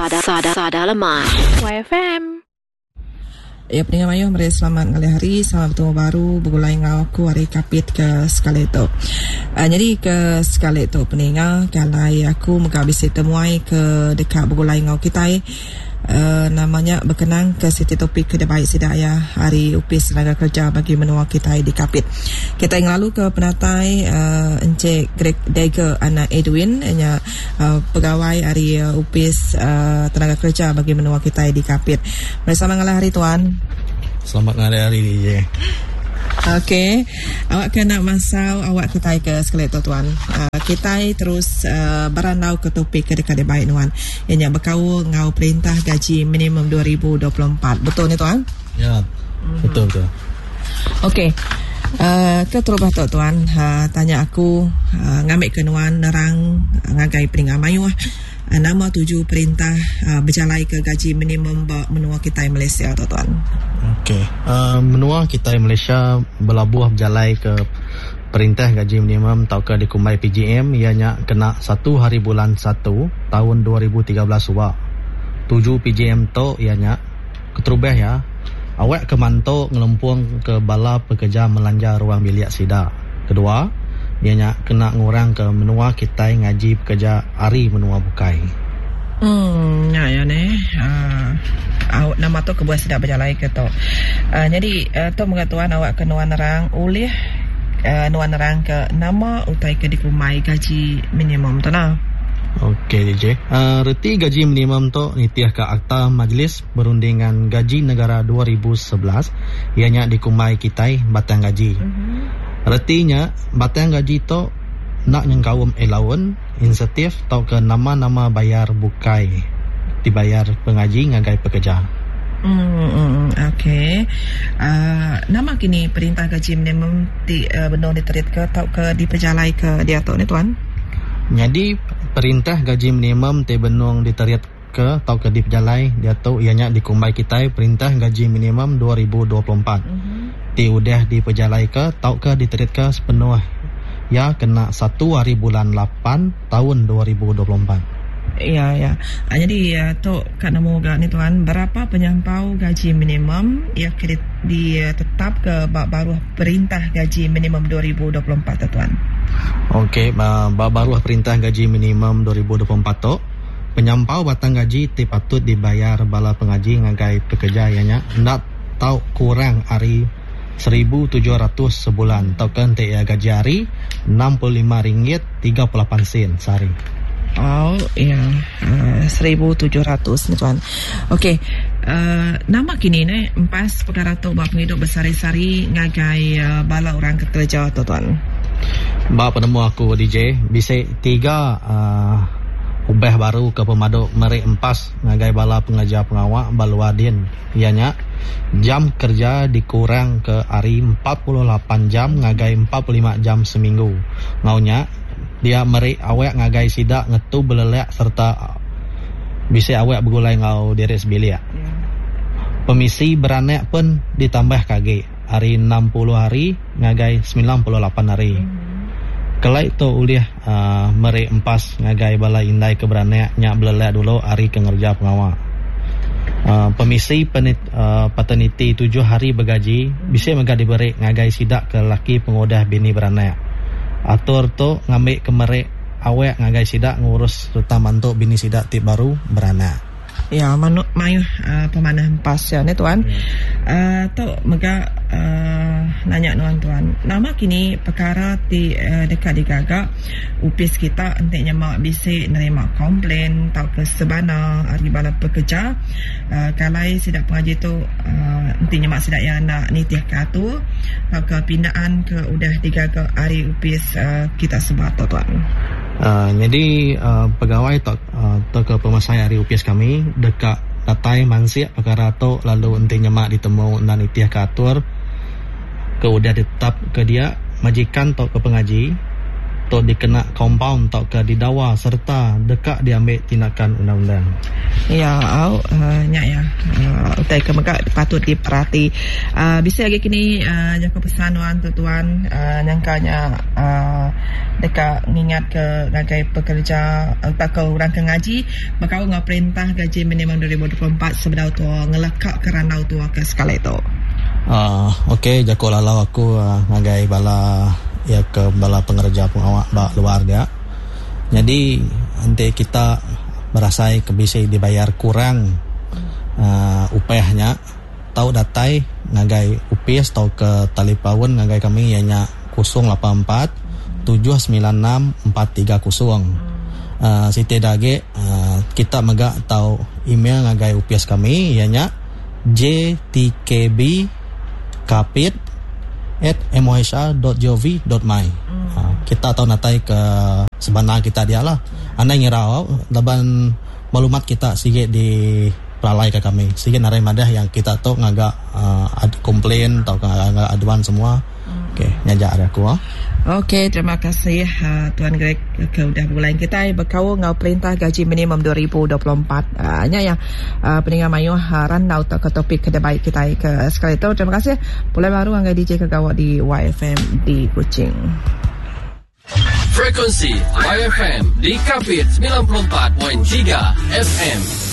Sada Sada Lemai. YFM. Ya peninga mayuh meri selamat ngalih hari, selamat betemu baru begulai enggau aku ari Kapit ke sekali tu. Uh, nyadi ke sekali tu peninga kalai aku mega bisi temuai ke deka begulai enggau kitai Uh, nama nya bekenang ke siti topik ke dibai sida iya ari Opis Tenaga Kerja bagi menua kitai di Kapit. Kitai ngelalu ke penatai uh, Encik Greg Dagger anak Edwin nya uh, pegawai ari uh, Opis uh, Tenaga Kerja bagi menua kitai di Kapit. Meri selamat ngalih hari tuan. Selamat ngalih hari DJ. Okey, awak ke nak masau awak kitai ke sekali tu tuan. Uh, kitai terus uh, berandau ke topik ke deka dibai nuan. Iya nya bekaul enggau perintah gaji minimum 2024. Betul ni tuan? Ya. Betul betul. Okey. Uh, ke terubah tu tuan, uh, tanya aku uh, ngambil ke nuan nerang uh, ngagai peninga mayuh uh, nama tuju perintah uh, bejalai ke gaji minimum ba menua kitai Malaysia tu tuan. Okey. Uh, menua kitai Malaysia belabuh bejalai ke Perintah gaji minimum tauka dikumbai PGM iya nya kena satu hari bulan satu taun 2013 suba. Tuju PGM tu iya nya keterubah iya awak ke mantu ngelempung ke bala pekerja melanja ruang bilik sida. Kedua iya nya kena ngurang ke menua kitai ngaji pekerja ari menua bukai. Em nya iya neh aaa au nama tu kebuah sida bejalai ke tu. Aaa nyadi tu mega tuan awak ke nuan nerang ulih aaa nuan nerang ke nama utai ke dikumbai gaji minimum tu nah. Okey DJ. Aaa reti gaji minimum tu nitih ka Akta Majlis Perundingan Gaji Negara 2011 iya nya dikumbai kitai batang gaji. Reti nya batang gaji tu enda nyengkaum elaun. Insentif tauka nama-nama bayar bukai dibayar pengaji ngagai pekeja. Emm okey. Aaa nama kini perintah gaji minimum ti benung diteritka tauka dipejalaika diatu ne tuan? Nyadi perintah gaji minimum ti benung diteritka tauka dipejalai diatu iya nya dikumbai kitai Perintah Gaji Minimum 2024 ti udah dipejalaika tauka diteritka sepenuh iya kena satu hari bulan lapan taun 2024. Iya iya. Nyadi tu ka nemu ga ni tuan berapa penyampau gaji minimum iya ke ditetapka ba baruh Perintah Gaji Minimum 2024 tu tuan. Okey ba baruh Perintah Gaji Minimum 2024 tu penyampau batang gaji ti patut dibayar bala pengaji ngagai pekeja iya nya enda tau kurang ari 1700 sebulan tauka enti iya gaji hari 65 ringgit 38 sen sehari. Oh iya 1700 nya tuan. Okey uhh nama kini neh empas pekara tu ba pengidup besehari-sehari ngagai bala orang ke kereja tu tuan. Ba penemu aku DJ bisi tiga uhh ubah baru ke pemadu meri empas ngagai bala pengereja pengawa ba luar din. Iya nya, jam kereja dikurangka ari 48 jam ngagai 45 jam seminggu. Enggau nya, dia meri awak ngagai sida ngetu belelak sereta bisi awak begulai enggau diri sebilik. Pemisi beranak pen ditambahka agi ari 60 hari ngagai 98 hari. Kelai tu ulih meri empas ngagai bala indai ke beranak nya belelak dulu ari ke ngereja pengawa. Pemisi paterniti tujuh hari begaji bisi mega diberi ngagai sida ke lelaki pengudah bini beranak. Atur tu ngambi ke meri awak ngagai sida ngurus sereta mantu bini sida ti baru beranak. Ya manu mayuh pemanah empas ya neh tuan. Uhh tu mega uhh nanya nuan tuan nama kini pekara ti deka digaga opis kita enti nyema bisi nerima complain tauka sebana ari bala pekerja uhh kalai sida pengaji tu uhh enti nyema sida iya enda nitih ke atur tauka pindaan ke udah digaga ari opis uhh kita sebuat tu tuan. Uhh nyadi uhh pegawai tauka. Tauka pemesai ari opis kami deka datai mansik pekara tu lalu enti nyema ditemu enda nitihka atur ke udah ditetapka dia, majikan tauka pengaji. Tu dikena kompaun tauka didawa sereta deka diambi tindakan undang-undang. Ya au nya iya utai ke mega patut diperati. Bisi agi kini jaku pesan nuan tu tuan nyangka nya deka ngingat ke ngagai pekerja tauka orang ke ngaji bekaul enggau perintah gaji minimum 2024 sebedau tua ngeleka ke randau tua ke sekali tu. Ok jaku lalau aku ngagai bala iya ke bala pengereja pengawa ba luar dia. Nyadi enti kita berasai ke bisi dibayar kurang uhh upah nya tau datai ngagai opis tauka talipaun ngagai kami iya nya 084 796 430. Uhh siti da agi uhh kita mega tau email ngagai opis kami iya nya jtkb kapit at mohr.gov.my. Kita tau natai ke sebana kita dia lah. Anang ngira au laban maklumat kita sigi di pelalai ka kami. Sigi narai madah yang kita tu ngaga complain tauka ngaga aduan semua. Okey, nya aja ari aku. Okey, terima kasih Tuan Greg ke udah begulai kitai bekaul enggau Perintah Gaji Minimum 2024. Nya iya peninga mayuh randau tauka topik ke dibai kitai ke sekali tu. Terima kasih. Pulai baru ngagai DJ ke gawa di YFM di Kuching. Frekuensi YFM di Kapit 94.3 FM.